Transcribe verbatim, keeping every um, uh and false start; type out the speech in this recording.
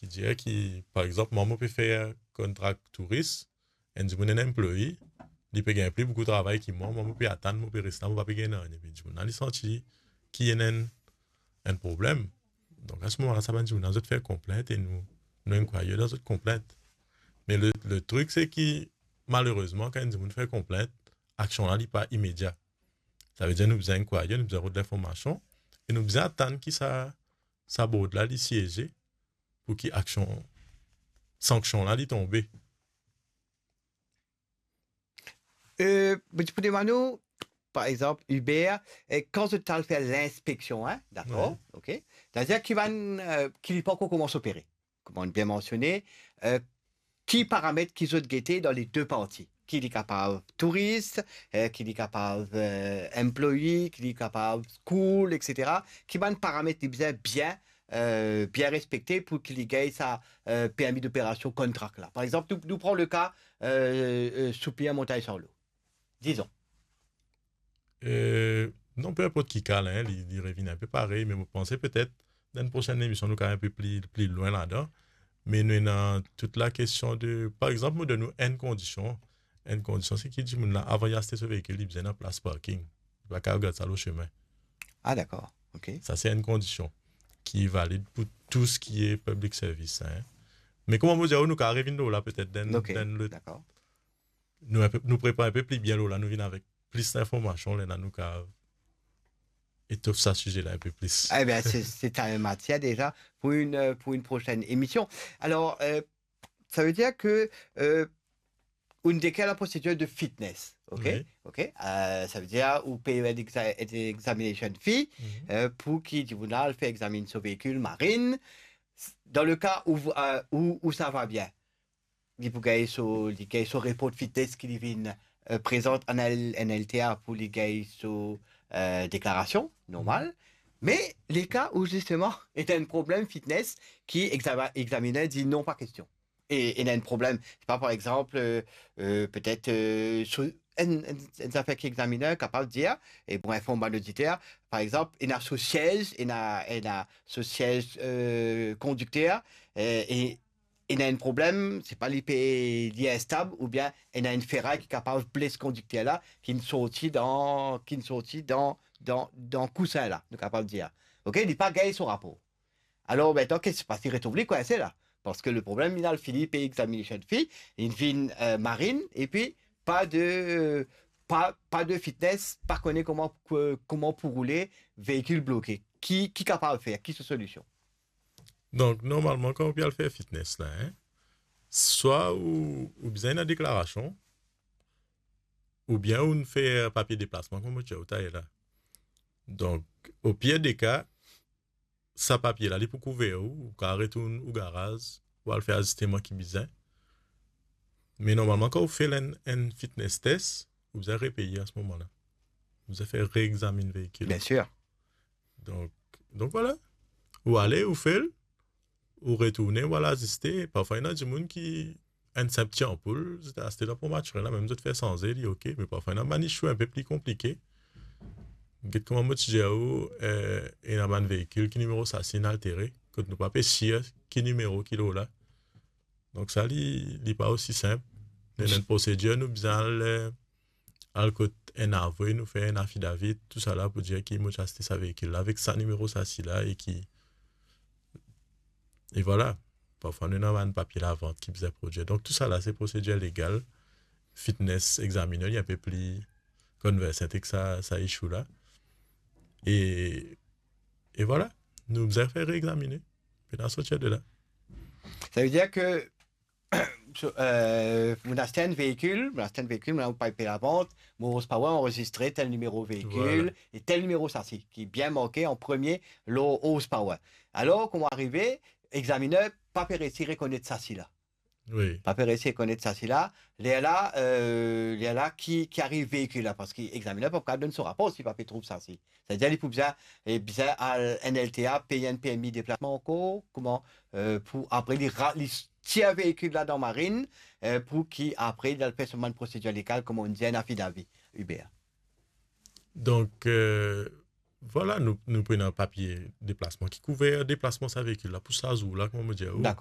Li dir ki, par exanp, mwa, mo pe fer kontra touris, enn dimoun, enn employee, li pe gagn pli boukou travay ki mwa, mwa, mo pe atann, mo pe res la, mo pa pe gagn nanye. Epi dimoun la, li santi ki ena enn, enn problem. Donk, a se moman la, sa bann dimoun la, zot fer konplint e nou, nou enkwayr dan zot konplint. Me le, le trik, se ki, malerezman, kan enn dimoun fer konplint, aksion la, li pa imedia. Savedir nou bizin enkwayr, nou bizin rod linformasion, e nou bizin atann ki sa, sa board la, li sieze, pou ki aksion, sanksion la, li tonbe. Euh, mo ti pou demann ou, par exanp, Hubert, eh, kan zot al fer linspeksion, hein, dakor, Ouais. ok. Savedir ki bann, euh, ki li pa ankor koumans opere, kouma nou bien mansione, euh, ki paramet ki zot gete dan le de parti, ki li kapav touris, eh, ki li kapav, euh, employee, ki li kapav school, et cetera. Ki bann paramet li bizin bien, euh, bien respekte pou ki li gagn sa, euh, permi d'operasion, contract la. Par exanp, nou, nou pran le ka, euh, euh, souplir Montagne Sarlo. Dizon. Euh, non, pe inport ki ka la, hein, li, li revinn inpe parey, me mo panse petet dan enn prosenn emision, nou kav inpe pli, pli lwin ladan. Me nou ena tout la kestion de, par exanp, mo donn ou enn kondision. Enn kondision, se ki dimoun la, avan li aste so veikil, li bizin ena plas parking. Li pa kav gard sa lor sime. Ah, dakor. Ok. Sa, se enn kondision ki valid pou tou seki public service, hein. Me kouma mo dir ou, nou kav revinn lor la petet dan, Ok, dan le, dakor. nou, inpe, nou prepar inpe pli bien lor la, nou vinn avek plis linformasion, lerla nou kav etof sa size la inpe plis. Eh ben, c'est, c'est une matière déjà pour une, euh, pour une prochaine émission. Alors, euh, ça veut dire que, euh, ou inn dekrir la prosedir de fitness, ok? Oui. Ok? Euh, savedir ou pe fer enn exa-, enn examination fee, Mhm. euh, pou ki dimoun la al fer examinn so veikil, marinn. Dan le ka ou, euh, ou, ou sa va bien, li pou gagn so, li gagn so report fitness ki li vinn, euh, prezant an L-, an L T A pou li gagn so, euh, deklarasion, normal. Me le ka ou zisteman, ena enn problem fitness ki exama-, examiner dir non, pa kestion. E, ena enn problem, se pa, par exanp, euh, euh, petet, euh, so, enn, enn, enn zafer ki examiner kapav dir, e pou inform bann oditer, par exanp, ena so siez, ena, ena so siez, euh, kondikter, euh, e ena enn problem, se pa li pe, li instab, oubien ena enn feray ki kapav bles kondikter la, ki'nn sorti dan, ki'nn sorti dan, dan, dan kousin la, nou kapav dir. Ok, li pa gagn so rapor. Alor, mintnan, ki se pas? Li retrouv li kwinse la. Parski le problem, li al fini pey examination fee, li vinn, euh, marinn, epi pa de, pa, pa de fitness, pa kone kouma, ko-, kouma pou roule, veikil bloke. Ki, ki kapav fer? Ki so solision? Donk, normalman, kan ou pe al fer fitness la, hein, swa ou, ou bizin ena deklarasion, oubien ou fer papie deplasman, kouma mo ti dir ou taler la. Donk, o pir de ka, sa papie la, li pou kouver ou, ou kav retourn ou garaz, ou al fer azisteman ki bizin. Me normalman, kan ou fer enn, enn fitness test, ou bizin repeye a se moman la. Ou bizin fer reexaminn veikil. Bien sûr. Donk, donk vwala. Ou ale, ou fer, ou retourne, ou al aziste. Parfwa, ena dimoun ki, enn sinp ti anpoul, zot aste dan ponp Maturin la, mem zot fer sanze li, ok. Me parfwa, ena bann issue inpe pli konplike. Get kouma mo ti dir ou, eh, ena bann veikil ki nimero sasi inn altere, kot nou pa pe sir ki nimero ki lor la. Donk sa, li, li pa osi sinp. Ena enn prosedir, nou bizin al, eh, al kot enn avwe, nou fer enn affidavit, tousala pou dir ki mo ti aste sa veikil la avek sa nimero sasi la e ki, e vwala. Parfwa, nou ena bann papie lavant ki bizin prodwir. Donk, tousala, se prosedir legal. Fitness examiner, li inpe pli conversant ek sa, sa issue la. E, e vwala, nou bizin fer reexamine. Pena sorti de la. Savedir ki, so, euh, mo aste enn veikil, mo aste enn veikil, mo al pey lavant, mo horsepower anrezistre tel nimero veikil, Vwala. E tel nimero sasi, ki bien marke an premie lor horsepower. Alor, kouma arive, examiner pa pe resi rekonet sasi la. Wi. Pa pe resi rekonet sasi la. Lerla, euh, lerla ki, ki ariv veikil la, parski examiner pa kav donn so rapor si pa pe trouv sasi. Savedir li pou bizin, eh, bizin al enn L T A, pey enn permi deplasman ankor, kouma, euh, pou apre li ra-, li tir veikil la dan marinn, euh, pou ki apre li al fer so bann prosedir legal, kouma nou dir, enn affidavit, Hubert. Donk, euh, vwala, nou, nou pou ena papie deplasman ki kouver deplasman sa veikil la pou sa zour la, kouma mo dir ou. Dakor.